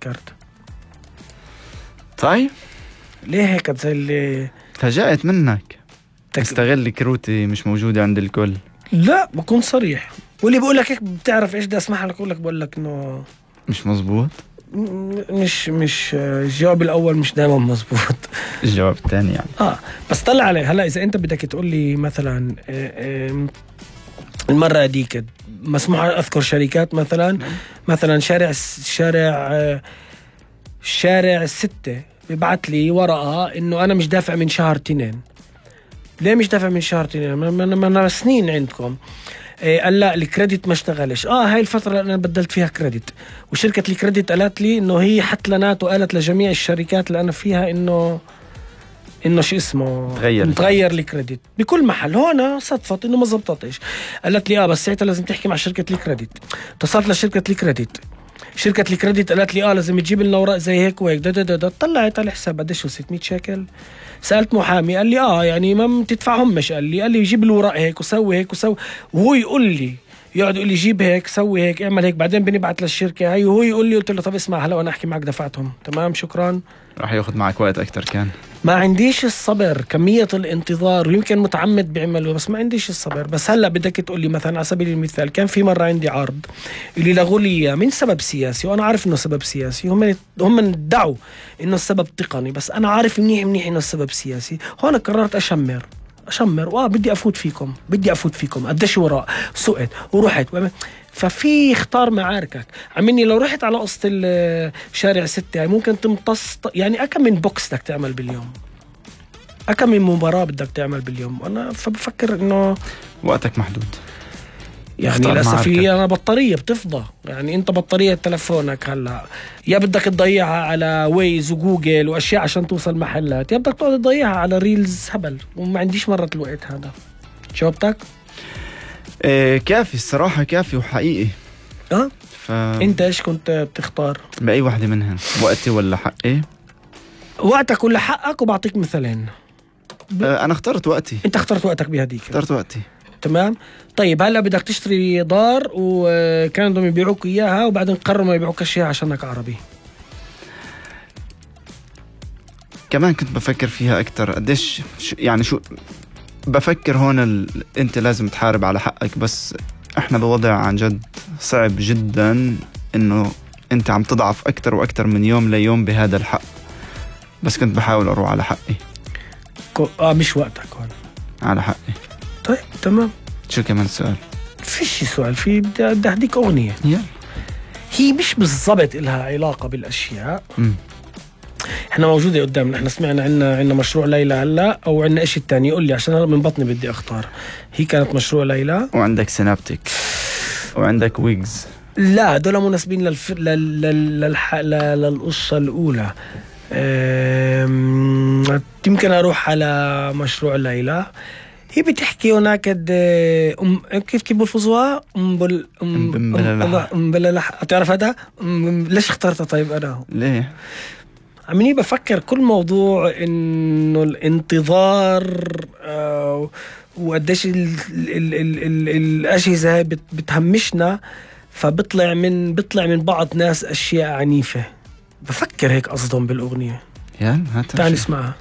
فكرت. طيب ليه هيك زي اللي تفاجأت منك تستغل كروتي مش موجودة عند الكل؟ لا بكون صريح، واللي بقول لك هيك بتعرف ايش بدي اسمح لك، بقول لك انه مش مزبوط. مش الجواب الاول مش دائما مزبوط. الجواب الثاني يعني بس طلع عليه. هلا اذا انت بدك تقول لي مثلا المره هذيك مسموح اذكر شركات مثلا شارع الستة بيبعت لي ورقه انه انا مش دافع من شهر 2. ليه مش دافع من شهر 2؟ ما انا سنين عندكم. قال لا الكريدت ما اشتغلش. هاي الفترة اللي انا بدلت فيها كريدت، وشركة الكريدت قالت لي انه هي حتلنات، وقالت لجميع الشركات اللي انا فيها انه شو اسمه متغير الكريدت بكل محل. هون صدفت انه ما زبطتش. قالت لي بس ساعتها لازم تحكي مع شركة الكريدت. اتصلت لشركة الكريدت، شركة الكريدت قالت لي لازم تجيب لنا اوراق زي هيك وهيك. طلعت على الحساب قديش 600 شيكل. سألت محامي قال لي يعني ما تدفعهم. مش قال لي يجيب الورق هيك وسوي هيك وسوي، وهو يقعد يقول لي جيب هيك سوي هيك اعمل هيك، بعدين بنبعت للشركة هاي وهو يقول لي. قلت له طب اسمع هلا وانا احكي معك دفعتهم. تمام شكرا. راح ياخذ معك وقت اكتر. كان ما عنديش الصبر، كمية الانتظار، ويمكن متعمد بيعملوا بس ما عنديش الصبر. بس هلا بدك تقول لي مثلا على سبيل المثال كان في مرة عندي عرض اللي لغوا لي من سبب سياسي، وانا عارف انه سبب سياسي. هم ادعوا انه السبب تقني، بس انا عارف منيح انه السبب سياسي. هون قررت اشمر بدي افوت فيكم قديش وراء سقت ورحت. ففي اختار معاركك. عمني لو رحت على قصة الشارع 6 يعني ممكن تمتص يعني أكم من بوكس بدك تعمل باليوم، أكم من مباراة بدك تعمل باليوم. أنا فبفكر إنه وقتك محدود يعني. للأسف أنا بطارية بتفضى. يعني أنت بطارية تلفونك هلا يا بدك تضيعها على ويز وجوجل وأشياء عشان توصل محلات، يا بدك تقعد تضيعها على ريلز هبل، وما عنديش مرة الوقت هذا. جاوبتك؟ كافي الصراحة، كافي وحقيقي. انت ايش كنت بتختار؟ بأي واحدة منهن؟ وقتي ولا حقي؟ وقتك ولا حقك؟ وبعطيك مثالين. انا اخترت وقتي. انت اخترت وقتك بهديك. اخترت وقتي. تمام. طيب هلا بدك تشتري دار وكانوا بدهم يبيعوك اياها وبعدين قرروا ما يبيعوك اشياء عشانك عربي. كمان كنت بفكر فيها اكتر قديش يعني شو بفكر هون انت لازم تحارب على حقك، بس احنا بوضع عن جد صعب جدا انه انت عم تضعف اكتر واكتر من يوم ليوم بهذا الحق. بس كنت بحاول اروح على حقي. مش وقتك هون على حقي. طيب تمام. شو كمان سؤال؟ فيش سؤال. في بدي اهديك اغنية. يلا. هي مش بالضبط إلها علاقة بالاشياء. احنا موجودة قدامنا. احنا سمعنا عنا مشروع ليلى هلا، او عنا اشي التاني. قول لي عشان من بطني بدي اختار. هي كانت مشروع ليلى، وعندك سينابتيك، وعندك ويجز. لا دول مناسبين للقصة الأولى. يمكن أروح على مشروع ليلى. هي بتحكي هناك كيف بلفظوها بللح. تعرف هذا ليش اخترتها؟ طيب أنا ليه عمني بفكر كل موضوع إنه الانتظار وقديش الأجهزة بتهمشنا، فبطلع من بعض ناس أشياء عنيفة. بفكر هيك قصدهم بالأغنية. تعال نسمعها.